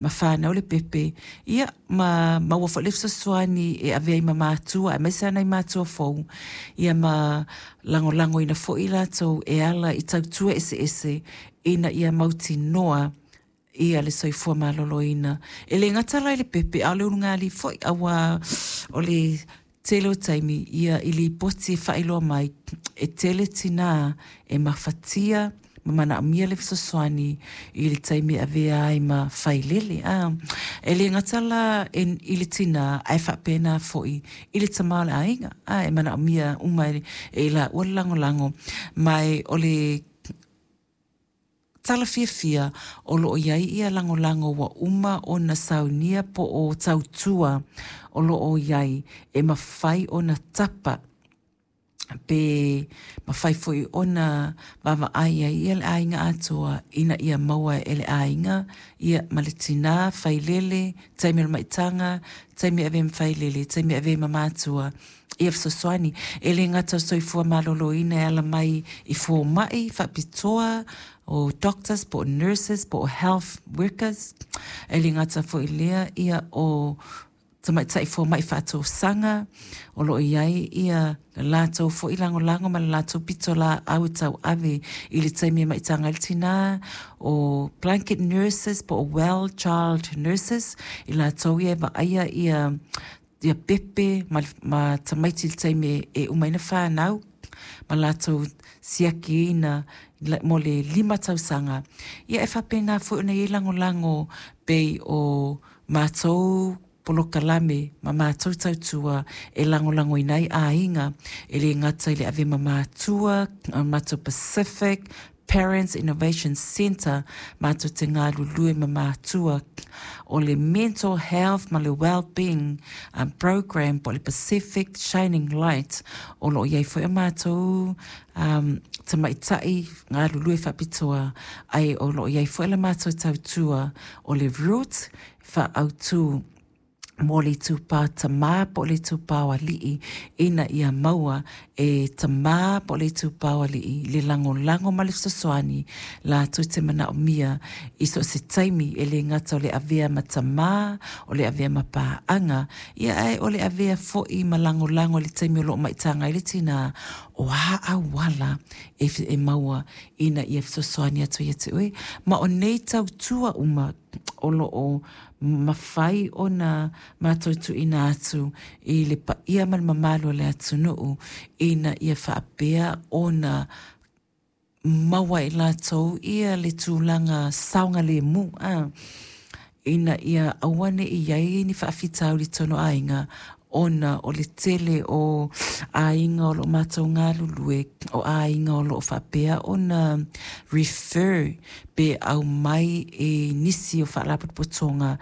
Ma fanau le pepe, ia, ma maua foi le fesoasoani e ave ai ma matua, aemaise lava nai matua fou, ia ma lagolagoina foi i latou e ala i tautua eseese ina ia mautinoa ia le soifua maloloina. E le gata la i le pepe, a o le ulugalii foi, aua o le tele o taimi ia i lipoti e faailoa mai e tele tinā e mafatia ma manaomia le fesoasoani i le taimi e avea ai ma failele. A e le gata la i le tinā ae faapena foi i le tama o le aiga. A e manaomia uma e i laua le lagolago ma e o le tala fiafia o lo o i ai ia lagolago ua uma ona saunia po o tautua o lo o i ai e mafai ona tapa pe mafai foi ona vaavaai ai ia le aiga atoa ina ia maua e le aiga ia ma le tinā failele, taimi o le maitaga, taimi e avea ma failele, taimi e avea ma matua ia fesoasoani. E le gata o le soifua maloloina e ala mai i fomai faapitoa, o doctors po o nurses po o health workers, e le gata foi i lea ia o tamaitai fomai faatosaga o lo o i ai ia le latou foi lagolago ma le latou pitolaau e tauave i le taimi e maitaga ai le tinā, o blanket nurses po o well child nurses, i latou ia e vaaia ia ia pepe ma, ma tamaiti i le taimi e uma ai ona fanau ma latou siakiina mo le 5 tausaga. Ia e faapena foi ona i ai lagolago pei o matou polokalame ma matou tautua e lagolagoina ai aiga e le gata i le ave ma matua, matou Pacific Parents Innovation Centre matou te galulue ma matua o le mental health ma le well-being program po o le Pacific Shining Light o lo o i ai foi a matou tamaitai galulue faapitoa ae o lo o i ai foi la matou tautua o le Root faaautu mo le itupa tamā po o le itupa o alii ina ia maua e tamā po o le itupa o alii le lagolago ma le fesoasoani latou te manaomia i so o se taimi e le gata o le avea ma tamā o le avea ma paaga ia ae o le avea foi ma lagolago i le taimi o lo o maitaga ai le tinā o a auala e, e maua ina ia fesoasoani atu ia te oe ma o nei tautua uma o lo o mafai ona matou tuuina atu i le paia ma le mamalu o le atunuu ina ia faapea ona maua e latou ia le tulaga saogalemu a ina ia aua ne i ai ni faafitauli i totonu o aiga ona o le tele o aiga o lo o matou galulue o aiga o lo o faapea ona refer pe aumai e nisi o faalapotopotoga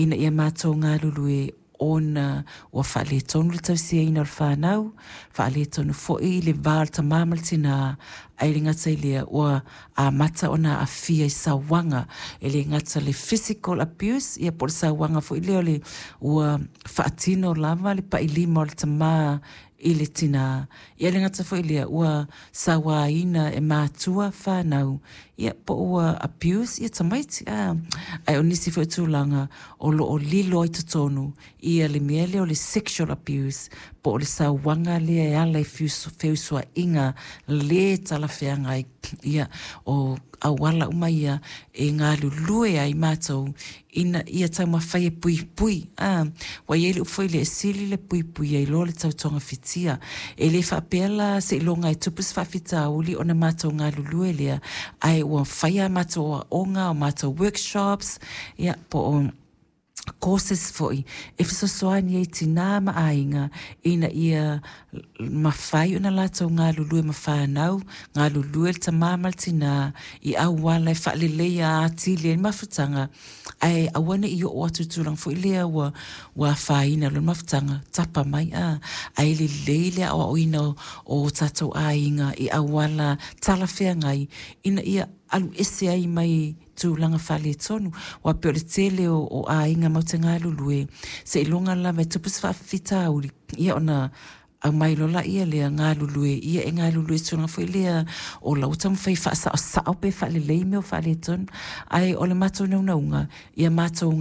ina ia matou galulue ona ua faaletonu le tausiaina o le fanau, faaletonu foi le va o le tamā ma le tinā, ae le gata i lea ua amata ona aafia i sauaga e le gata le physical abuse ia po o le sauaga foi lea o le ua faatino lava le pailima o le tamā i le tinā. Ia le gata foi lea ua sauaina e matua fanau ia po ua abuse ia tamaiti a ae o nisi foi tulaga o lo o lilo ai totonu ia le mea lea o le sexual abuse po o le sauaga lea e ala i feusuaiga le talafeagai ia o auala uma ia e galulue ai matou ina ia taumafai e puipui a ua i ai le upu foi lea e sili le puipui ai loa le tautogafitia e le faapea la seiloga e tupu se faafitauli ona matou galulue lea ae ua fai a matou aoga o matou workshops ia po o courses foi e fesoasoani ai tinā ma aiga ina ia mafai ona latou galulue ma fanau, galulue le tamā ma le tinā i auala e faaleleia atili ai le mafutaga ae aua ne i oo atu i tulaga foi lea ua ua afaina loa le mafutaga tapa mai a ae lelei le aoaoina o, o tatou aiga i auala talafeagai ina ia alu ese ai mai tulaga faaletonu aua pei o le tele o, o aiga matou te galulue seiloga lava e tupu se faafitauli ia ona Aumai loa laia lea galulue, ia e galulue i se tulaga foi lea o la ua taumafai e faasaosao pe faalelei mea o faaletonu. Ae o le matou naunauga, ia matou